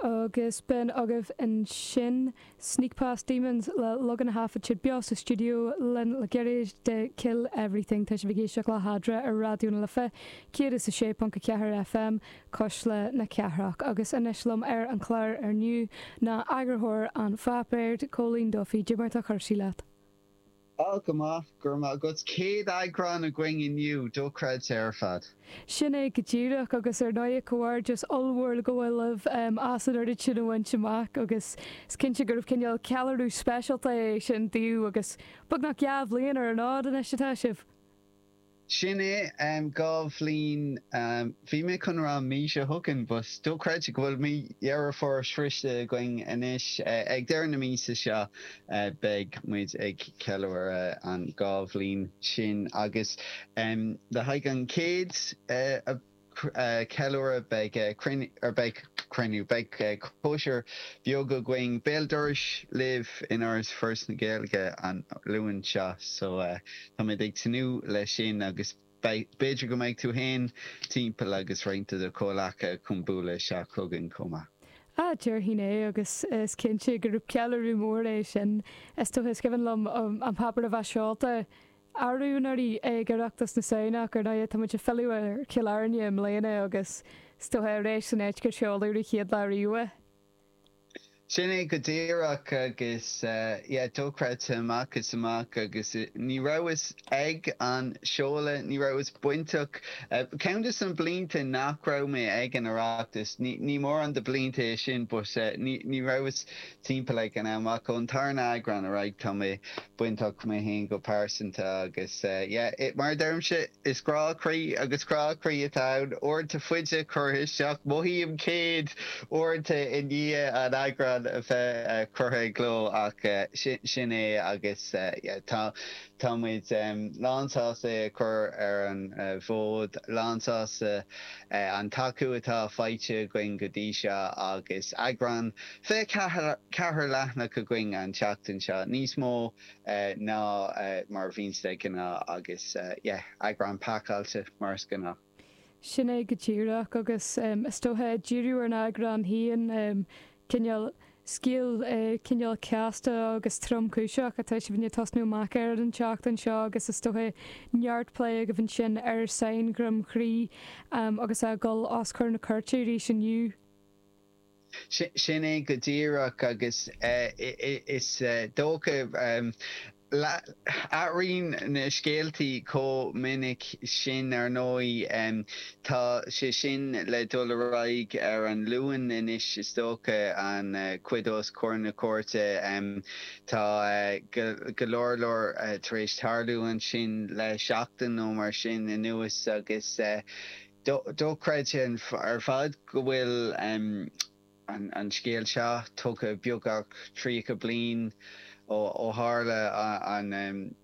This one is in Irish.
Agus b'in agaibh ansin Sneak Past Demons le Logan a thaifead siad beo sa stiúideo linn le gairid de Kill Everything. Tá sibh ag éisteacht le hEadra ar Raidió na Life 106.4 FM, Cuisle na Cathrach. Agus anois liom ar an chlár inniu ná eagarthóir an pháipéir, Cóilín Duffy. Cad é mar atá cúrsaí leat? Á, go maith, go raibh maith agat. Céad eagrán againn inniu, dochreidte ar fad. Sin é go díreach, agus ar ndóigh comhghairdeas ollmhór le gabháil libh as an oiread sin a bhaint amach agus is cinnte gurbh cineál ceiliúradh speisialta é sin daoibh agus beagnach 2 bhliain ar an fhód anois atá sibh. Sin é, 2 bhliain, bhí mé chun rá an mhí seo chugainn but dochreidte go bhfuil mí Dheireadh Fómhair sroichte againn anois. Ag deireadh na míosa seo beidh muid ag ceiliúradh an 2 bhliain sin agus le haghaidh an chéad ceiliúradh beidh cruinniú, or beidh cruinniú, beidh cóisir bheag againn béal dorais libh in Áras Foras na Gaeilge an Luan seo so táimid ag tnúth leis sin agus b'fhéidir go mbeidh tú féin timpeall agus roinnt de do chomhleacaithe chun bualadh isteach chugainn chomh maith. Ah, déarfainn é agus is cinnte gurb ceiliúradh mór é sin. Is dócha, is cuimhin liom an páipéar a bheith seolta arú anuraidh ag Oireachtas na Samhna ach ar ndóigh tá muid ag filleadh ar Chill Airne i mbliana agus is dócha ar ais san áit gur seoladh an chéad lá riamh é. Sin é go díreach agus yeah dochreidte amach is amach agus ní rabhas ag an seoladh, ní rabhas bainteach, ceann de na blianta nach raibh mé ag an Oireachtas, ní mórán de blianta é sin but ní rabhas timpeall ag an am ach ón tarna eagrán ar aghaidh tá mé bainteach mé féin go pearsanta agus yeah mar a deirimse is grá croí agus crá croí atá ann uaireanta faide curtha isteach mothaím 100 uaireanta i ndiaidh an eagrán a bheith curtha i gcló ach sin é agus yeah tá Tá muid lánsásta é a chur ar an bhfód, lánsásta an tacú atá faighte againn go dtí seo agus eagrán 24 leathanach againn an tseachtain seo, níos mó ná mar a bhíonns de ghnáth agus yeah, eagrán pacáilte mar is gnáth. Sin é go díreach agus is dócha ag díriú ar an eagrán féin, cineál scéal cineál casta agus tromchúiseach atá sibh i ndiaidh tosnú amach air an tseachtain seo agus is dócha neart plé agaibh ansin ar Sáinn Dhroim Chrí agus é ag dul os comhair na cúirte arís inniu. Sin é go díreach agus is dócha, athraíonn na scéaltaí chomh minic sin ar ndóigh. Tá sé sin le dul ar aghaidh ar an Luan anois is dócha, an chuid os comhair na cúirte. Tá go leor leor tar éis tarlú ansin le seachtain nó mar sin anuas agus Dochreidte ar fad go bhfuil an scéal seo tugtha beagnach 30 bliain ó tharla an.